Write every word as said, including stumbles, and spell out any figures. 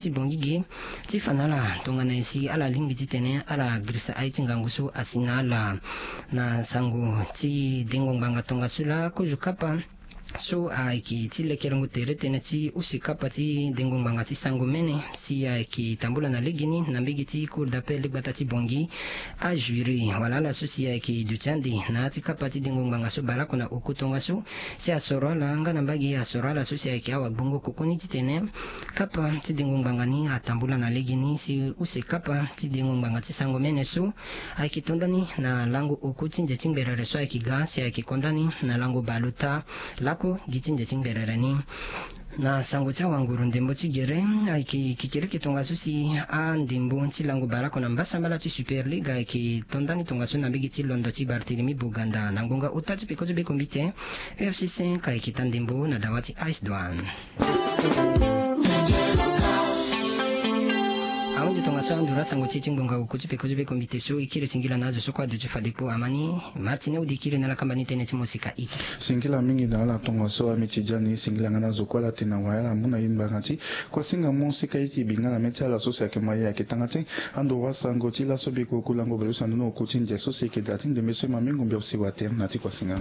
ti bongi ge ti fa na ala tongana nyen si ala lingbi titene ala girisa aye ti ngangu so asi na ala. Na sango ti dengo ngbanga tongaso laa kozo kapa so ayeke ti lekerengo tere tënë ti use kapa ti dengo ngbanga ti sango mene si ayeke tambula na legeni na mbege ti cour d'appel ti gbata ti bongi. Ajuri wala ala so si ayeke duti ande na ya ti kapa ti dengo ngbanga so baleoko na oku tongaso si asoro ala nga na mbage asoro ala so si ayeke awagbongo koko ni titene kapa ti dengo ngbanga ni atambula na legeni si use kapa ti dengo ngbanga ti sango mene so ayeke to ndani na lango oku ti nze ti ngberere so ayeke ga si ayeke ko ndani na lango bale ota lako gi ti nze ti ngberere ni. Na sango ti awanguru ndembo ti gere ayeke kikiriki tongaso si andembo ti lango baleoko na mbasambala ti Super League ayeke to ndani tongaso na mbege ti londo ti Barthélemy Boganda na ngonga ota ti peko ti be kombite. U F C cinq ayeke ta ndembo na dawa ti Ice Douane. Ahunzi tongaso anduru asango ti e ti ngbonga oku ti peko ti be kombite so e kiri singila na azo so kue aduti fade kpo amani. Martine odi kiri na ala kamba ni tënë ti mosika ita. Singila mingi na ala tongaso ami ti dia ni singila nga na azo kue ala tene na wayala amu na e ngbanga ti kuasinga mosika iti bi nga na mê ti ala so si ayeke ma e ayeke tanga ti ando wasango ti laso biko oku lango baleuse ando na oku ti ndia so si eke daa ti ndembe so e ma mingo mbi apusi water na ti kuasinga.